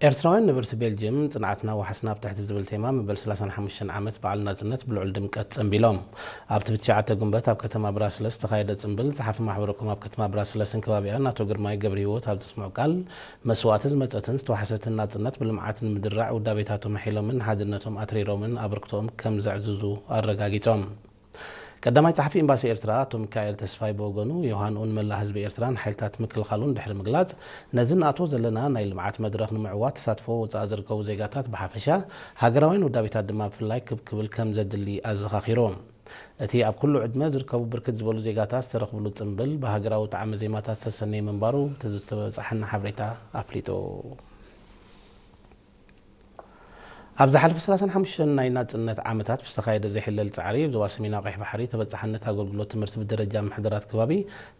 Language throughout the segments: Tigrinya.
ኤርትራውያን ነበርቲ ቤልጅየም፣ ጽንዓትና ዋሕስና ኣብ ትሕቲ ዝብል ቴማ፣ መበል ሰላሳን ሓሙሽተን ዓመት በዓል ናጽነት ብልዑል ድምቀት ጸንቢሎም። ኣብቲ ብትሽዓተ ጉንበት ኣብ ከተማ ብራስለስ ዝተኻየደ ጽምብል፣ ጸሓፊ ማሕበረ ኮም ኣብ ከተማ ብራስለስን ከባቢኣን ኣቶ ግርማይ ገብረሂወት ኣብ ዘስምዖ ቃል፣ መስዋእቲ ዝመጸትን ዝተዋሕሰትን ናጽነት ብልምዓት ንምድራዕ ውዳቤታቶም ኣሒሎምን ንሓድነቶም ኣትሪሮምን ኣበርክቶኦም ከም ዘዕዝዙ ኣረጋጊጾም። ቀዳማይ ጸሓፊ ኤምባሲ ኤርትራ ኣቶ ሚካኤል ተስፋይ ብወገኑ፣ ዮሃንኡን መላእ ህዝቢ ኤርትራን ሓይልታት ምክልኻሉን ድሕሪ ምግላጽ፣ ነዚ ንኣትዎ ዘለና ናይ ልምዓት መድረኽ ንምዕዋት ተሳትፎ ወጻኢ ዝርከቡ ዜጋታት ብሓፈሻ፣ ሃገራውያን ውዳቤታት ድማ ብፍላይ ክብ ክብል ከም ዘድሊ ኣዘኻኺሩ። እቲ ኣብ ኩሉ ዕድመ ዝርከቡ ብርክት ዝበሉ ዜጋታት ዝተረኽብሉ ጽምብል፣ ብሃገራዊ ጣዕመ ዜማታት ዝተሰነየ ምንባሩ እቲ ዝተበጻሐና ሓበሬታ ኣፍሊጡ። ኣብ ዝሓለፈ ሰላሳን ሓሙሽተን ናይ ናጽነት ዓመታት ብዝተኻየደ ዘይሕለል ጻዕሪ፣ ኣብ ዞባ ሰሜናዊ ቀይሕ ባሕሪ ተበጻሕነት ኣገልግሎት ትምህርቲ ብደረጃ ምምሕዳራት ከባቢ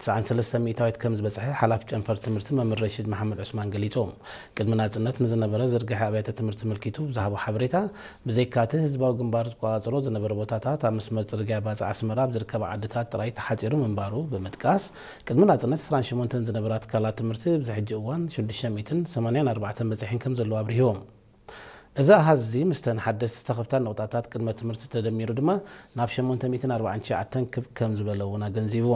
ትስዓን ሰለስተን ሚእታዊት ከም ዝበጽሐ ሓላፊ ጨንፈር ትምህርቲ መምህር ረሺድ መሓመድ ዑስማን ገሊጹ። ቅድሚ ናጽነት ንዝነበረ ዝርግሐ ኣብያተ ትምህርቲ ኣመልኪቱ ብዝሃቦ ሓበሬታ፣ ብዘይካ'ቲ ህዝባዊ ግንባር ዝቆጻጸሮ ዝነበረ ቦታታት፣ ኣብ መስመር ጽርግያ ባጽዕ ኣስመራ ኣብ ዝርከባ ዓድታት ጥራይ ተሓጺሩ ምንባሩ ብምጥቃስ፣ ቅድሚ ናጽነት ዕስራን ሸሞንተን ዝነበራ ትካላት ትምህርቲ፣ ኣብዚ ሕጂ እዋን ሽዱሽተ ሚእትን ሰማንያን ኣርባዕተን በጺሐን ከም ዘለዋ ኣብሪሁ። እዚ ኣሃዝ እዚ፣ ምስተን ሓደስቲ ዝተኸፍታ ነቑጣታት ቅድመ ትምህርቲ ተደሚሩ ድማ፣ ናብ ሸሞንተ ሚእትን ኣርባዓን ትሽዓተን ክብ ከም ዝበለ እውን ኣገንዚቡ።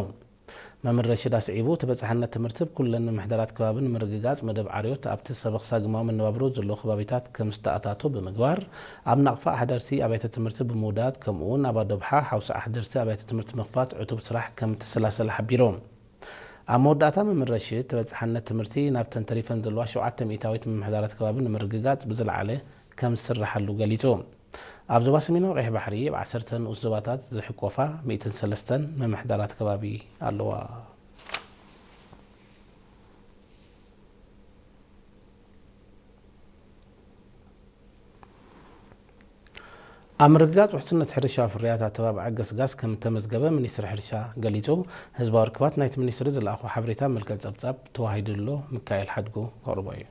መምህር ረሽድ ኣስዒቡ፣ ተበጻሕነት ትምህርቲ ኣብ ኩለን ምምሕዳራት ከባቢ ንምርግጋጽ፣ መደብ ዓርዮት ኣብቲ ሰበኽ ሳግማዊ መነባብሮ ዘለዎ ከባቢታት ከም ዝተኣታቶ ብምግባር፣ ኣብ ናቕፋ ኣሕደርቲ ኣብያተ ትምህርቲ ብምውዳድ፣ ከምኡ'ውን ኣብ ኣዶብሓ ሓውሲ ኣሕደርቲ ኣብያተ ትምህርቲ ምኽፋት ዕቱብ ስራሕ ከም እተሰላሰለ ሓቢሩ። ኣብ መወዳእታ፣ መምህር ረሽድ፣ ተበጻሕነት ትምህርቲ ናብተን ተሪፈን ዘለዋ ሸውዓተ ሚእታዊት ምምሕዳራት ከባቢ ንምርግጋጽ ብዝለዓለ ከም ዝስርሓሉ ገሊጹ። ኣብ ዞባ ሰሜናዊ ቀይሕ ባሕሪ፣ ኣብ ዓሰርተ ንኡስ ዞባታት ዝሕቆፋ ሚእትን ሰለስተን ምምሕዳራት ከባቢ ኣለዋ። ኣብ ምርግጋጽ ውሕስነት ሕርሻዊ ፍርያት ኣተባብዓ ገስጋስ ከም እተመዝገበ ሚኒስትሪ ሕርሻ ገሊጹ። ህዝባዊ ርክባት ናይቲ ሚኒስትሪ ዝለኣኾ ሓበሬታ መልክዕ ጸብጻብ ተዋሂዱ ኣሎ። ሚካኤል ሓድጉ ከቕርቦ እዩ።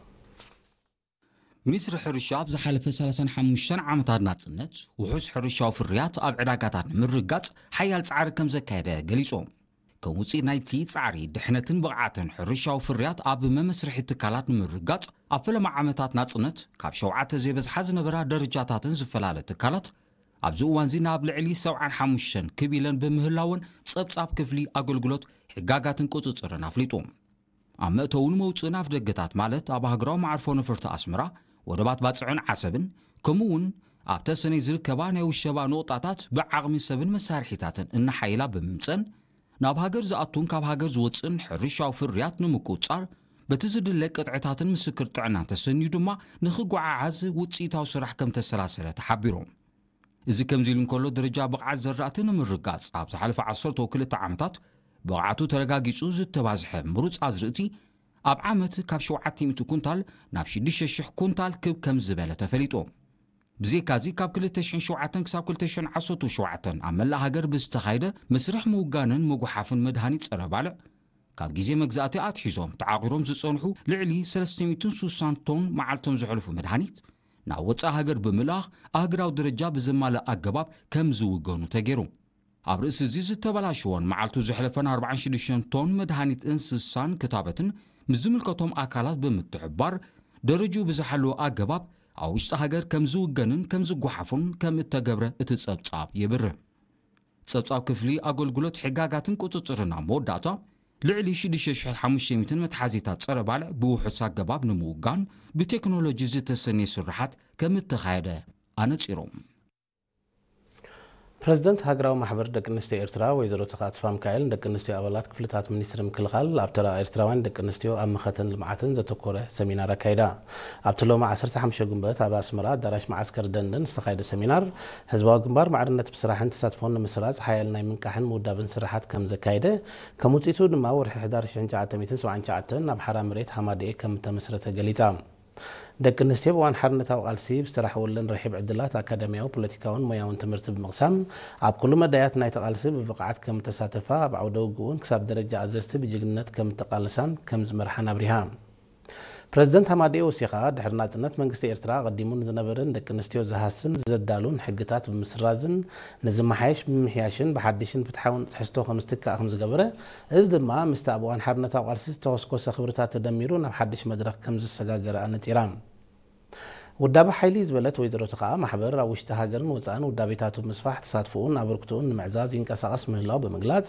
ሚኒስትሪ ሕርሻ ኣብ ዝሓለፈ ሰላሳን ሓሙሽተን ዓመታት ናጽነት፣ ውሑስ ሕርሻዊ ፍርያት ኣብ ዕዳጋታት ንምርግጋጽ ሓያል ጻዕሪ ከም ዘካየደ ገሊጹ። ከም ውጽኢት ናይቲ ጻዕሪ፣ ድሕነትን ብቕዓትን ሕርሻዊ ፍርያት ኣብ መመስርሒ ትካላት ንምርግጋጽ፣ ኣብ ፈለማ ዓመታት ናጽነት ካብ ሸውዓተ ዘይበዝሓ ዝነበራ ደረጃታትን ዝፈላለ ትካላት፣ ኣብዚ እዋንዚ ናብ ልዕሊ ሰብዓን ሓሙሽተን ክብ ኢለን ብምህላወን፣ ጸብጻብ ክፍሊ ኣገልግሎት ሕጋጋትን ቁጽጽርን ኣፍሊጡ። ኣብ መእተውን መውጽእን ኣፍደገታት፣ ማለት ኣብ ሃገራዊ መዓርፎ ነፈርቲ ኣስመራ፣ ወደባት ባጽዕን ዓሰብን፣ ከምኡ'ውን ኣብ ተሰነይ ዝርከባ ናይ ውሸባ ነቑጣታት ብዓቕሚ ሰብን መሳርሒታትን እናሓየላ ብምምጸን፣ ናብ ሃገር ዝኣቱን ካብ ሃገር ዝወጽእን ሕርሻዊ ፍርያት ንምቁጽጻር፣ በቲ ዝድለ ቅጥዕታትን ምስክር ጥዕናን ተሰንዩ ድማ ንኽጓዓዓዝ ውጽኢታዊ ስራሕ ከም ተሰላሰለ ተሓቢሩ። እዚ ከምዚ ኢሉ እንከሎ፣ ደረጃ ብቕዓት ዘራእቲ ንምርጋጽ፣ ኣብ ዝሓለፈ ዓሰርተ ክልተ ዓመታት ብቕዓቱ ተረጋጊጹ ዝተባዝሐ ምሩጽ ኣዝርእቲ፣ ኣብ ዓመት ካብ ሸውዓተ ሚእቲ ኩንታል ናብ ሽዱሽተ ሽሕ ኩንታል ክብ ከም ዝበለ ተፈሊጡ። ብዘይካዚ፣ ካብ ክልተ ሽሕን ሸውዓተን ክሳብ ክልተ ሽሕን ዓሰርተ ሸውዓተን ኣብ መላእ ሃገር ብዝተኻየደ መስርሕ ምውጋንን ምጉሓፍን መድሃኒት ጸረ ባልዕ፣ ካብ ግዜ መግዛእቲ ኣትሒዞም ተዓቑሮም ዝጸንሑ ልዕሊ ሰለስተ ሚእትን ስሳን ቶን መዓልቶም ዘሕልፉ መድሃኒት፣ ናብ ወጻኢ ሃገር ብምልኣኽ፣ ኣህጉራዊ ደረጃ ብዘማልእ ኣገባብ ከም ዝውገኑ ተገይሩ። ኣብ ርእሲ እዚ፣ ዝተበላሸወን መዓልቱ ዘሕለፈን ኣርባዓን ሽዱሽተን ቶን መድሃኒት እንስሳን ክታበትን፣ ምስ ዝምልከቶም ኣካላት ብምትሕብባር፣ ደረጅኡ ብዝሓለወ ኣገባብ ኣብ ውሽጢ ሃገር ከም ዝውገንን ከም ዝጓሓፉን ከም እተገብረ እቲ ጸብጻብ የብርህ። ጸብጻብ ክፍሊ ኣገልግሎት ሕጋጋትን ቁጽጽርን ኣብ መወዳእታ፣ ልዕሊ ሽዱሽተ ሽሕን ሓሙሽተ ሚእትን መትሓዚታት ጸረ ባልዕ ብውሑስ ኣገባብ ንምውጋን ብቴክኖሎጂ ዝተሰነየ ስርሓት ከም እተኻየደ ኣነጺሩ። ፕረዚደንት ሃገራዊ ማሕበር ደቂ ኣንስትዮ ኤርትራ ወይዘሮ ተኽኣ ተስፋሚካኤል፣ ንደቂ ኣንስትዮ ኣባላት ክፍልታት ሚኒስትሪ ምክልኻል፣ ኣብ ተራ ኤርትራውያን ደቂ ኣንስትዮ ኣብ መኸተን ልምዓትን ዘተኮረ ሰሚናር ኣካይዳ። ኣብቲ ሎሚ ዓሰርተ ሓሙሽተ ጉንበት ኣብ ኣስመራ ኣዳራሽ መዓስከር ደንደን ዝተኻየደ ሰሚናር፣ ህዝባዊ ግንባር ማዕርነት ብስራሕን ተሳትፎን ንምስራጽ ሓያል ናይ ምንቃሕን ምውዳብን ስራሓት ከም ዘካየደ፣ ከም ውጽኢቱ ድማ ወርሒ ሕዳር ሽሕን ትሽዓተ ሚእትን ሰብዓን ትሽዓተን ኣብ ሓራ መሬት ሃማደኤ ከም እተመስረተ ገሊጻ። ደቂ ኣንስትዮ ኣብ እዋን ሓርነታዊ ቃልሲ ብዝተራሕወለን ርሒብ ዕድላት ኣካዳሚያዊ፣ ፖለቲካውን ሞያውን ትምህርቲ ብምቕሳም፣ ኣብ ኩሉ መዳያት ናይቲ ቃልሲ ብብቕዓት ከም እተሳተፋ፣ ኣብ ዓውደ ውግእ እውን ክሳብ ደረጃ ኣዘዝቲ ብጅግንነት ከም እተቓለሳን ከም ዝመርሓን ኣብሪሃ። ፕረዚደንት ሃማደኤ ወሲኻ፣ ድሕሪ ናጽነት መንግስቲ ኤርትራ ኣቐዲሙ ንዝነበረ ንደቂ ኣንስትዮ ዝሃስን ዘዳሉን ሕግታት ብምስራዝን፣ ንዝመሓየሽ ብምምሕያሽን ብሓድሽን ፍትሓውን ትሕዝቶ ከም ዝትካእ ከም ዝገበረ፣ እዚ ድማ ምስቲ ኣብ እዋን ሓርነታዊ ቃልሲ ዝተኾስኮሰ ክብርታት ተደሚሩ ናብ ሓድሽ መድረኽ ከም ዘሰጋገረ ኣነጺራ። ውዳበ ሓይሊ ዝበለት ወይዘሮ ተኸኣ፣ ማሕበር ኣብ ውሽጢ ሃገርን ወፃእን ውዳቤታቱ ምስፋሕ፣ ተሳትፎኡን ኣበርክቶኡን ንምዕዛዝ ይንቀሳቐስ ምህላው ብምግላፅ፣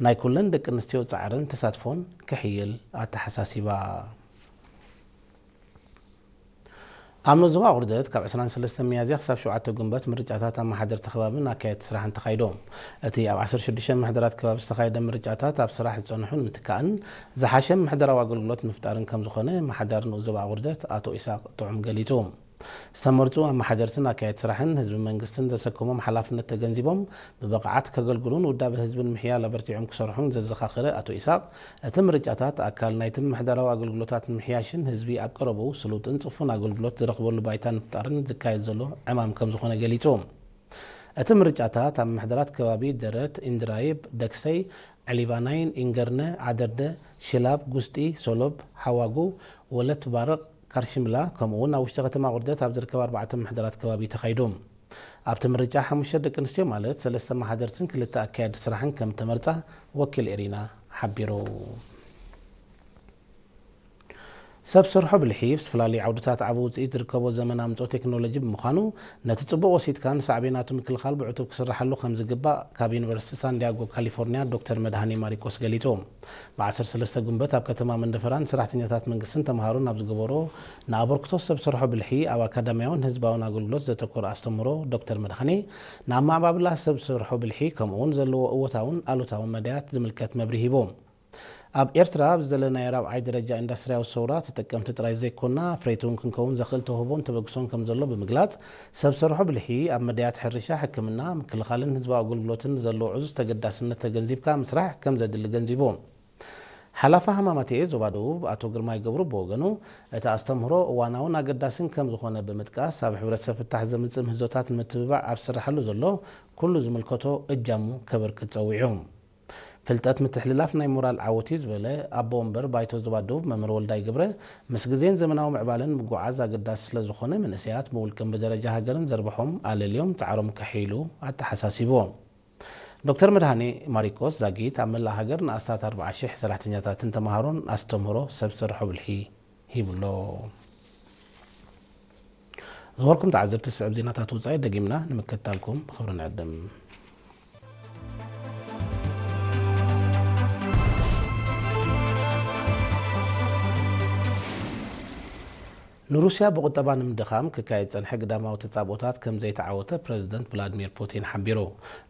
ናይ ኩለን ደቂ ኣንስትዮ ፃዕርን ተሳትፎን ክሕይል ኣተሓሳሲባ። ኣብ ዞባ ኣቑርደት ካብ ዕስራን ሰለስተን ሚያዝያ ክሳብ ሸውዓተ ጉንበት ምርጫታት ኣመሓደርቲ ከባብን ኣካየድቲ ስራሕን ተኻይዶም። እቲ ኣብ ዓሰርተ ሽዱሽተ ምሕደራት ከባቢ ዝተኻየደ ምርጫታት ኣብ ስራሕ ዝጸንሑ ንምትካእን ዝሓሸ ምሕደራዊ ኣገልግሎት ምፍጣርን ከም ዝኾነ ኣመሓዳሪ ንኡስ ዞባ ኣቑርደት ኣቶ ኢሳቕ ጥዑም ገሊጹ። ዝተመርጹ ኣመሓደርትን ኣካየድቲ ስራሕን ህዝብን መንግስትን ዘሰከሞም ሓላፍነት ተገንዚቦም ብብቕዓት ከገልግሉን ውዳበ ህዝብን ምሕያል ኣበርቲዖም ክሰርሑን ዘዘኻኸረ ኣቶ ኢሳቕ፣ እቲ ምርጫታት ኣካል ናይቲ ምምሕዳራዊ ኣገልግሎታት ንምሕያሽን ህዝቢ ኣብ ቀረብኡ ስሉጥን ጽፉን ኣገልግሎት ዝረኽበሉ ባይታ ንምፍጣርን ዝካየድ ዘሎ ዕማም ከም ዝኾነ ገሊጹ። እቲ ምርጫታት ኣብ ምምሕዳራት ከባቢ ደረት፣ ኢንድራይብ፣ ደክሰይ፣ ዕሊባናይን፣ ኢንገርነ፣ ዓደርደ፣ ሽላብ፣ ጉስጢ፣ ሶሎብ፣ ሓዋጉ፣ ወለት ባርቕ፣ ካርሽምላ፣ ከምኡ እውን ኣብ ውሽጢ ከተማ ቁርደት ኣብ ዝርከብ ኣርባዕተ ምምሕዳራት ከባቢ ተኻይዱ። ኣብቲ ምርጫ ሓሙሽተ ደቂ ኣንስትዮ ማለት ሰለስተ ኣመሓደርትን ክልተ ኣካየድቲ ስራሕን ከም ተመርጻ ወኪል ኤሪና ሓቢሩ። ሰብ ሰርሖ ብልሒ ኣብ ዝተፈላለዩ ዓውድታት ዓቢ ውፅኢት ዝርከቦ ዘመን ኣምፅኦ ቴክኖሎጂ ብምዃኑ፣ ነቲ ፅቡቕ ወሲድካ ንሳዕቤናቱ ምክልኻል ብዕቱብ ክስራሓሉ ከም ዝግባእ ካብ ዩኒቨርሲቲ ሳንዲያጎ ካሊፎርኒያ ዶክተር መድሃኔ ማሪቆስ ገሊጹ። ብ ዓሰርተ ሰለስተ ጉንበት ኣብ ከተማ መንደፈራ ንሰራሕተኛታት መንግስትን ተምሃሮን ኣብ ዝገበሮ ንኣበርክቶ ሰብ ሰርሖ ብልሒ ኣብ ኣካዳሚያውን ህዝባውን ኣገልግሎት ዘተኮረ ኣስተምህሮ ዶክተር መድሃኔ፣ ንኣመዓባብላ ሰብ ሰርሖ ብልሒ ከምኡውን ዘለዎ እወታውን ኣሉታውን መዳያት ዝምልከት መብርሂ ሂቡ። ኣብ ኤርትራ ኣብ ዝደለናዮ ራብዓይ ደረጃ ኢንዳስትርያዊ ሰውራ ተጠቀምቲ ጥራይ ዘይኮና፣ ኣፍረይቲ እውን ክንከውን ዘኽእል ተውህቦን ተበግሶን ከም ዘሎ ብምግላጽ፣ ሰብ ሰርሖ ብልሒ ኣብ መዳያት ሕርሻ፣ ሕክምና፣ ምክልኻልን ህዝባዊ ኣገልግሎትን ዘለዎ ዕዙዝ ተገዳስነት ተገንዚብካ ምስራሕ ከም ዘድሊ ገንዚቡ። ሓላፊ ሃማማተኤ ዞባ ደቡብ ኣቶ ግርማይ ገብሩ ብወገኑ፣ እቲ ኣስተምህሮ እዋናውን ኣገዳስን ከም ዝኾነ ብምጥቃስ፣ ኣብ ሕብረተሰብ ፍታሕ ዘምጽእ ምህዞታት ንምትብባዕ ኣብ ዝስርሓሉ ዘሎ ኩሉ ዝምልከቶ እጃሙ ከበርክት ጸዊዑ። ፍልጠት ምትሕልላፍ ናይ ሞራል ዓወት እዩ ዝበለ ኣቦ ወንበር ባይቶ ዞባ ደቡብ መምህር ወልዳይ ገብረ፣ ምስ ግዜን ዘመናዊ ምዕባለን ምጉዓዝ ኣገዳሲ ስለ ዝኾነ፣ መንእሰያት ብውልቅን ብደረጃ ሃገርን ዘርብሖም ኣለልዮም ጻዕሮም ከሕይሉ ኣተሓሳሲቡ። ዶክተር መድሃኔ ማሪቆስ ዛጊት ኣብ መላእ ሃገር ንኣስታት ኣርብዓ ሽሕ ሰራሕተኛታትን ተምሃሮን ኣስተምህሮ ሰብ ሰርሖ ብልሒ ሂቡ ኣሎ። ዝኸበርኩም ተዓዘብቲ፣ ዝስዕብ ዜናታት ወጻኢ ደጊምና ንምክትታልኩም ብኽብሪ ንዕድም። ንሩስያ ብቁጠባ ንምድኻም ክካየድ ዝጸንሐ ግዳማዊ ተጻብኦታት ከም ዘይተዓወተ ፕረዚደንት ቭላድሚር ፑቲን ሓቢሩ።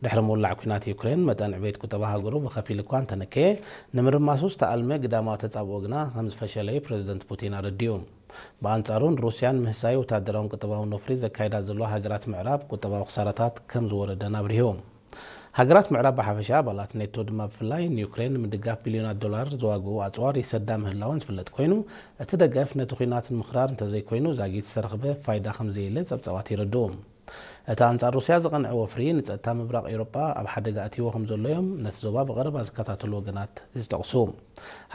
ድሕሪ ምውላዕ ኲናት ዩክሬን፣ መጠን ዕቤት ቁጠባ ሃገሩ ብኸፊል እኳ እንተነከየ፣ ንምርማሱ ዝተኣልመ ግዳማዊ ተጻብኦ ግና ከም ዝፈሸለ እዩ ፕረዚደንት ፑቲን ኣረዲኡ። ብኣንጻሩ፣ ንሩስያን ምህሳይ ወታደራውን ቁጠባውን ወፍሪ ዘካይዳ ዘለዋ ሃገራት ምዕራብ ቁጠባዊ ክሳራታት ከም ዝወረደን ኣብሪሁ። ሃገራት ምዕራብ ብሓፈሻ፣ ኣባላት ኔቶ ድማ ብፍላይ፣ ንዩክሬን ንምድጋፍ ቢልዮናት ዶላር ዝዋግኡ ኣጽዋር ይሰዳ ምህላወን ዝፍለጥ ኮይኑ፣ እቲ ደገፍ ነቲ ኲናት ንምኽራር እንተዘይኮይኑ ዛጊት ዝተረኽበ ፋይዳ ከም ዘየለ ጸብጻባት የረድኡ። እቲ ኣንጻር ሩስያ ዝቐንዐ ወፍሪ ንጸጥታ ምብራቕ ኤውሮጳ ኣብ ሓደጋ ኣትይዎ ከም ዘሎ እዮም ነቲ ዞባ ብቐረባ ዝከታተሉ ወገናት ዝጠቕሱ።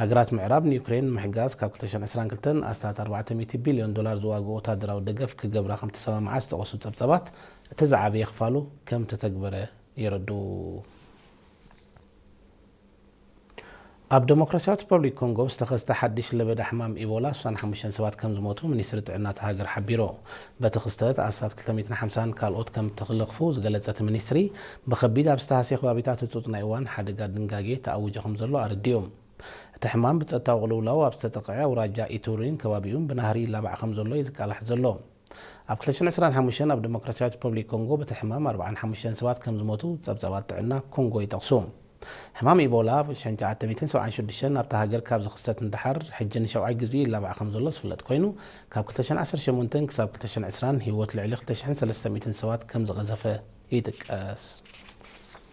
ሃገራት ምዕራብ ንዩክሬን ንምሕጋዝ ካብ ክልተ ሽሕን ዕስራን ክልተን ኣስታት ኣርባዕተ ሚእቲ ቢልዮን ዶላር ዝዋግኡ ወታደራዊ ደገፍ ክገብራ ከም ተሰማምዓ ዝጠቐሱ ጸብጻባት፣ እቲ ዝዓበየ ክፋሉ ከም ተተግበረ የረድኡ። ኣብ ዴሞክራሲያዊት ሪፐብሊክ ኮንጎ ብዝተኸስተ ሓድሽ ለበዳ ሕማም ኢቦላ ስሳን ሓሙሽተን ሰባት ከም ዝሞቱ ሚኒስትሪ ጥዕና እታ ሃገር ሓቢሩ። በቲ ክስተት ኣስታት ክልተ ሚእትን ሓምሳን ካልኦት ከም እተለኽፉ ዝገለጸ እቲ ሚኒስትሪ፣ ብኸቢድ ኣብ ዝተሃስየ ከባቢታት ህጹጽ ናይ እዋን ሓደጋ ድንጋጌ ተኣዊጁ ከም ዘሎ ኣረዲኡ። እቲ ሕማም ብጸጥታዊ ቅልውላው ኣብ ዝተጠቕዐ ኣውራጃ ኢቱሪን ከባቢኡን ብናህሪ ይላባዕ ከም ዘሎ እዩ ዝቃላሕ ዘሎ። ኣብ ክልተ ሽሕን ዕስራን ሓሙሽተን ኣብ ዴሞክራሲያዊት ሪፐብሊክ ኮንጎ በቲ ሕማም ኣርባዓን ሓሙሽተን ሰባት ከም ዝሞቱ ጸብጻባት ጥዕና ኮንጎ ይጠቕሱ። ሕማም ኢቦላ ኣብ ሸንጫ ዓተ ሚእትን ሰብዓን ሽዱሽተን ኣብታ ሃገር ካብ ዝኽሰት ንደሓር፣ ሕጂ ንሻውዓይ ግዜኡ ይላባዕ ከም ዘሎ ዝፍለጥ ኮይኑ፣ ካብ ክልተ ሽሕን ዓሰርተ ሸሞንተን ክሳብ ክልተ ሽሕን ዕስራን ህይወት ልዕሊ ክልተ ሽሕን ሰለስተ ሚእትን ሰባት ከም ዝቐዘፈ ይጥቀስ።